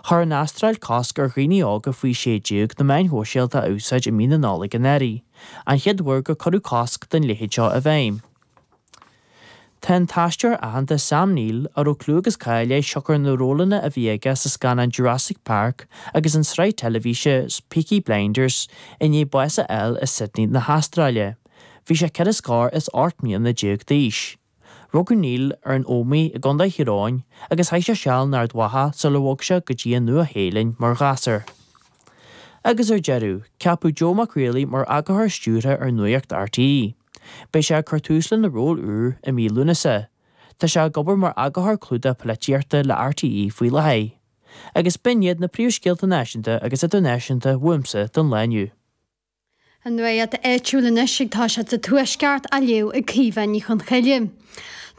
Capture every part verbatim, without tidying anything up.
Chuir an Astráil cosc ar dhaoine óga faoi sé déag na meáin shóisialta a úsáid i mí na Nollag anuraidh, an chéad uair gur cuireadh cosc den leithéid seo i bhfeidhm. Tá an t-aisteoir aitheanta Sam Neill a raibh clú agus cáil air siocair na rólanna a bhí aige sa scannán Jurassic Park agus an tsraith teilifíse Peaky Blinders i ndiaidh bás a fháil i Sydney na hAstráile. Bhí sé ceithre scór is ocht mbliana déag d'aois. Rugadh Neill ar an Ómaigh i gContae Thír Eoghain agus chaith sé seal in Ard Mhacha sular bhog sé go dtí an Nua-Shéalainn mar ghasúr. Agus ar deireadh, ceapadh Joe Mac Riollaigh mar eagarthóir stiúrtha ar Nuacht RTÉ. Beidh sé ag cur tús lena ról úr i mí Lúnasa. Tá sé ag obair mar eagarthóir clúdach polaitíochta le RTÉ faoi láthair. Agus b'in iad na príomhscéalta náisiúnta agus idirnáisiúnta uaimse don lá inniu. An nuacht áitiúil anois ag toiseacht sa Tuaisceart á léamh ag Caoimhe Ní Chonchoille.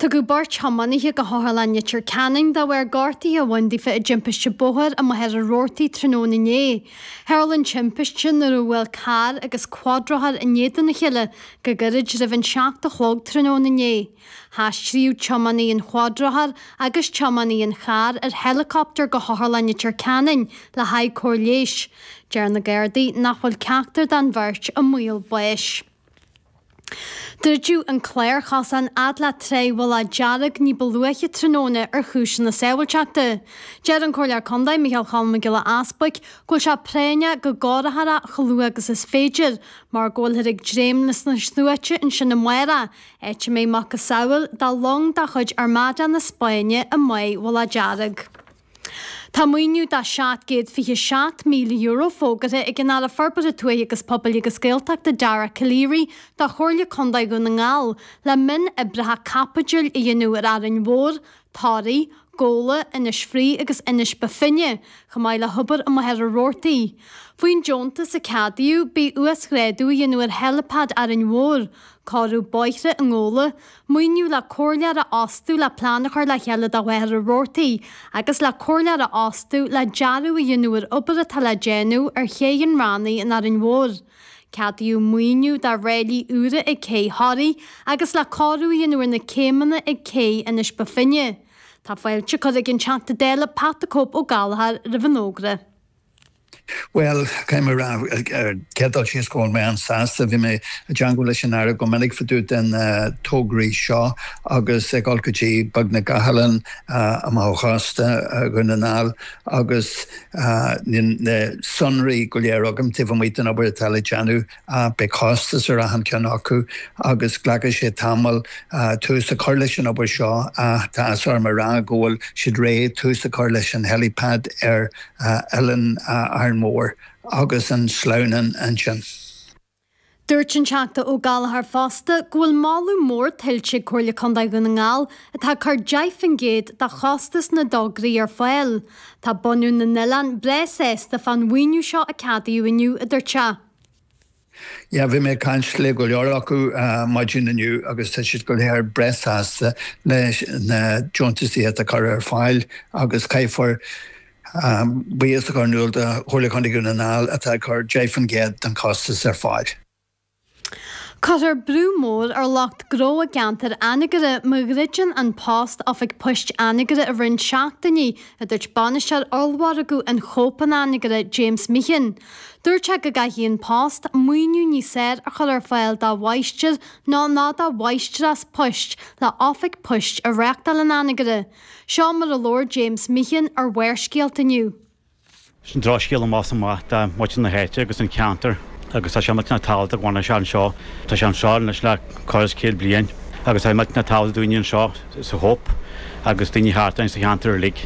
Tugadh beirt thiománaithe go hOtharlann Leitir Ceanainn de bharr gortuithe a bhain daofa i dtimpiste bóthair i Machaire Rabhartaigh tráthnóna inné. Tharla an timpiste nuair a bhuail carr agus cuadrothar in éadan a chéile go gairid roimh an seacht a chlog tráthnóna inné. Haistríodh tiománaí an chuadrothair agus tiománaí an chairr ar helicopter go hOtharlann Leitir Ceanainn le haghaidh cóir leighis. Deir na Gardaí nach bhfuil ceachtar den bheirt i mbaol báis. Druideadh an clárchosán fhad le Trá Mhullach Dearg ní ba luaithe tráthnóna ar chúiseanna sábháilteachta. Deir an Comhairleoir Contae Micheál Cholm Mac Giolla Easbuic go bhfuil sé práinneach go gcóireofar é chomh luath agus is féidir, mar go bhfuilthear ag dréim leis na sluaite ansin amárach, áit a mbeidh macasamhail de long de chuid Armada na Spáinne i mBáigh Mhullach Dearg. Tá maoiniú de seacht gcéad fiche seacht míle euro fógartha ag an Aire Forbartha Tuaithe agus Pobail agus Gaeltachta Dara Calleary do Chomhairle Contae Dhún na nGall le mionoibreacha caipitil a dhéanamh ar Árainn Mhór, Toraigh, Gabhla, Inis Fraoich agus Inis Bó Finne, chomh maith le hobair i Machaire Rabhartaigh. Faoin deontas a ceadaíodh, beidh uasghrádú a dhéanamh ar heilipad Árainn Mhór, cóiriú bóithre i nGabhla, maoiniú le comhairleoir a fhostú le plean a chur le chéile do Mhachaire Rabhartaigh agus le comhairleoir a fhostú le dearadh a dhéanamh ar obair atá le déanamh ar Ché an Rannaigh in Árainn Mhór. Ceadaíodh maoiniú do ráillí úra ag Cé Thoraí agus le cóiriú a dhéanamh ar na céimeanna ag Cé Inis Bó Finne. Tá fáilte curtha ag an Teachta Dála Pat the Cope Ó Gallchóir roimh an fhógra. Well, caithfidh mé a rá ar chéad dul síos go bhfuil mé an-sásta, bhí mé i dteagmháil leis an Aire go minic fá dtaobh den tograí seo agus ag dul go dtí beagnach gach oileán amach ó chósta Dhún na nGall agus níl na sonraí go léir agam taobh amuigh den obair atá le déanamh. Beidh costas ar achan ceann acu agus glacfaidh sé tamall tús a chur leis an obair seo ach tá áthas orm a rá go bhfuil siad réidh tús a chur leis an helipad ar Oileán Árainn Mhór agus an sleamhnán ansin. Dúirt an Teachta Ó Gallchóir fosta go bhfuil moladh mór tuillte ag Comhairle Contae Dhún na nGall atá ag cur deich faoin gcéad de chostas na dtograí ar fáil. Tá bunadh na n-oileán breá sásta fán mhaoiniú seo a ceadaíodh inniu, a dúirt sé. Yeah, bhí mé ag caint le go leor acu maidin inniu agus tá siad go léir breá sásta leis na deontaisí atá curtha ar fáil agus caithfear buíochas a chur in iúl do Chomhairle Contae Dhún na nGall atá ag cur deich faoin gcéad den chostas ar fáil. Cuirfear brú mór ar lucht gnó i gceantar Anagaire má dhruideann An Post oifig poist Anagaire i roinnt seachtainí, a dúirt bainisteoir ollmhargadh an Chóip in Anagaire, James Meehan. Dúirt sé go gcaithfidh An Post maoiniú níos fearr a chur ar fáil dá mháistir nó ná dá mháistreás poist le oifig poist a reáchtáil in Anagaire. Seo mar a labhair James Meehan ar Bharrscéalta inniu. Sin drochscéal amach is amach do mhuintir na háite agus an ceantar agus tá sé millteanach tábhachtach go bhfanfaidh sé anseo. Tá sé anseo anois le corradh is céad bliain agus tá sé millteanach tábhachtach do dhaoine anseo sa Chóip agus daoine thart ann sa cheantar uilig.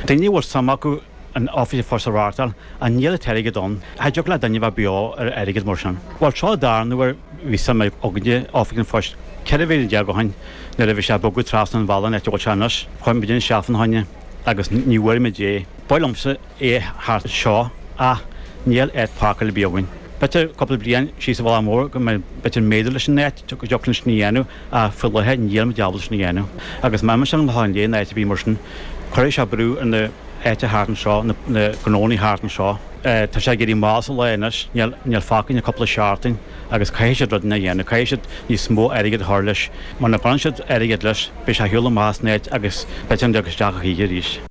Daoine a bhfuil suim acu an oifig an phoist a reáchtáil ach níl an t-airgead ann. Cha dtiocfadh le duine bheith beo ar airgead mar sin. Bhuel seo an darna huair bhí suim againne oifig an phoist ceithre bhliain déag ó shin nuair a bhí sé ag bogadh trasna an bhealaigh an áit a bhfuil sé anois. Chuaigh muid isteach fána choinne agus ní bhfuair muid é. Ba mhaith liomsa é thart anseo ach níl áit páirceála ar bith againn. B'fhéidir cúpla bliain síos an bealach mór go mbeidh b'fhéidir méadú leis an áit go dtiocfadh linn sin a dhéanamh ach faoi láthair níl muid ábalta sin a dhéanamh. Agus má imíonn sé amach ón léan áit ar bith mar sin cuirfidh sé brú ar na áite thart anseo, na gnónna thart anseo. Tá sé ag éirí mall sa lá anois, níl níl fágtha ach cúpla seachtain agus caithfidh siad rudaí a dhéanamh, caithfidh siad níos mó airgid a chur leis. Muna gcuireann siad airgead leis, beidh sé ar shiúl amach as an áit agus b'fhéidir nach dtiocfaidh isteach a choíche arís.